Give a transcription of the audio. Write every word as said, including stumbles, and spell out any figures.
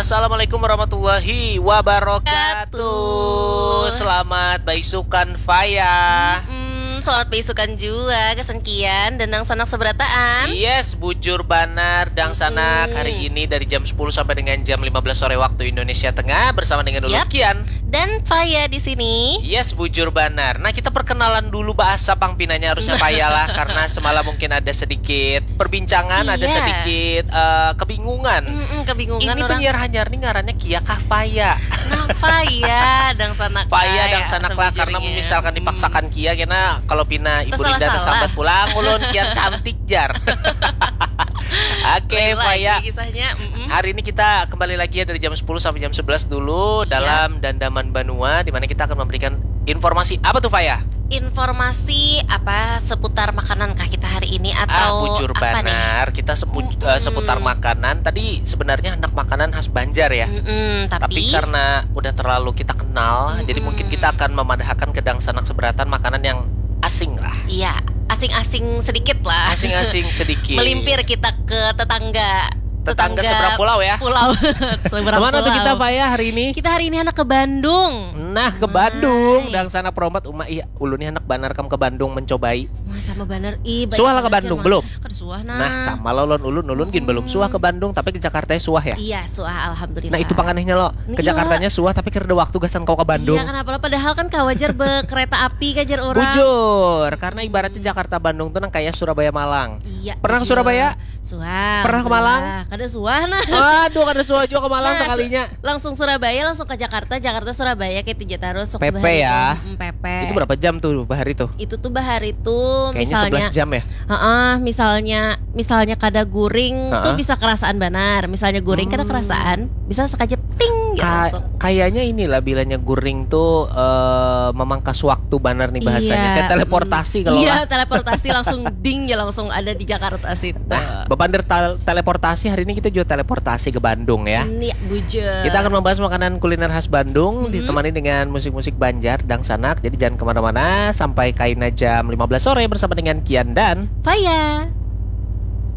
Assalamualaikum warahmatullahi wabarakatuh. Selamat baisukan Faya. Hmm, selamat baisukan juga gasan Kian dan dangsanak seberataan. Yes, bujur banar dangsanak. Hari ini dari jam sepuluh sampai dengan jam lima belas sore waktu Indonesia Tengah bersama dengan ulun Yap. Kian. Dan Faya di sini. Yes, bujur banar. Nah, kita perkenalan dulu bahasa pang pinanya harusnya Faya lah karena semalam mungkin ada sedikit perbincangan, ada Iya. sedikit eh, kebingungan. Mm-mm, kebingungan Ini orang. Penyiar hanyar nih ngarannya Kia kah Faya? Nah, Faya dangsanak Faya Faya dangsanak lah karena sebujurnya. Misalkan dipaksakan Kia kena kalau pina ibu Linda Tersalah-salah. Tersambat pulang ulun Kian cantik jar. Oke, Lain Faya. Lagi kisahnya. Mm-mm. Hari ini kita kembali lagi ya dari jam sepuluh sampai jam sebelas dulu dalam Dandaman Banua, di mana kita akan memberikan informasi apa tuh, Faya? Informasi apa seputar makanan kah kita hari ini atau Ah, bujur apa nih? Banar, kita sepu- eh, seputar makanan. Tadi sebenarnya anak makanan khas Banjar ya. Mm-mm, Tapi tapi, karena udah terlalu kita kenal, jadi mungkin kita akan memadahkan ke dangsanak seberatan makanan yang asing lah. Iya, asing-asing sedikit lah. Asing-asing sedikit. Melimpir kita ke tetangga. Tetangga seberang pulau ya? Pulau. Seberang Kemana tuh pulau. Kita, Faya, hari ini? Kita hari ini anak ke Bandung. Nah, ke Bandung, dangsanak perompat uma ih ulun nih anak banar kam ke Bandung mencobai. Wah, sama banar. Ih, Suah lah ke banar, Bandung, Jerman. Belum? Kada suah nah. Nah, sama lah ulun ulun ulun gin belum suah ke Bandung, tapi ke Jakarta suah ya. Iya, suah, alhamdulillah. Nah, itu panganehnya lo. Ke Iya. Jakartanya suah tapi kada waktu gasan kau ke Bandung. Iya, kenapa lo? Padahal kan kawajar bekereta api kajar orang. Bujur, karena ibaratnya Jakarta Bandung tuh nang kayak Surabaya Malang. Iya. Pernah ke bujur. Surabaya? Suah. Pernah ke Malang? Alhamdulillah. Kada suah nah. Aduh, kada suah juga ke Malang Nah, sekalinya. Langsung Surabaya, langsung ke Jakarta, Jakarta Surabaya kayak tiga terus. P P ya. Hmm, P P. Itu berapa jam tuh bahari tuh? Itu tuh bahari tuh Kayaknya misalnya sebelas jam ya. Heeh, misalnya misalnya kada guring tuh Heeh. Bisa kerasaan banar. Misalnya guring kada kerasaan, bisa sekajap ting gitu Ka- langsung. Kayaknya inilah bilanya guring tuh eh, memangkas waktu banar nih bahasanya. Iya. Kayak teleportasi kalau Iya, lah. Teleportasi langsung ding ya, langsung ada di Jakarta situ. Nah, bepander tal- teleportasi hari ini kita juga teleportasi ke Bandung ya. Ini bujur. Kita akan membahas makanan kuliner khas Bandung ditemani dengan musik-musik Banjar dangsanak. Jadi jangan kemana-mana sampai kaina jam lima belas sore bersama dengan Kian dan Faya.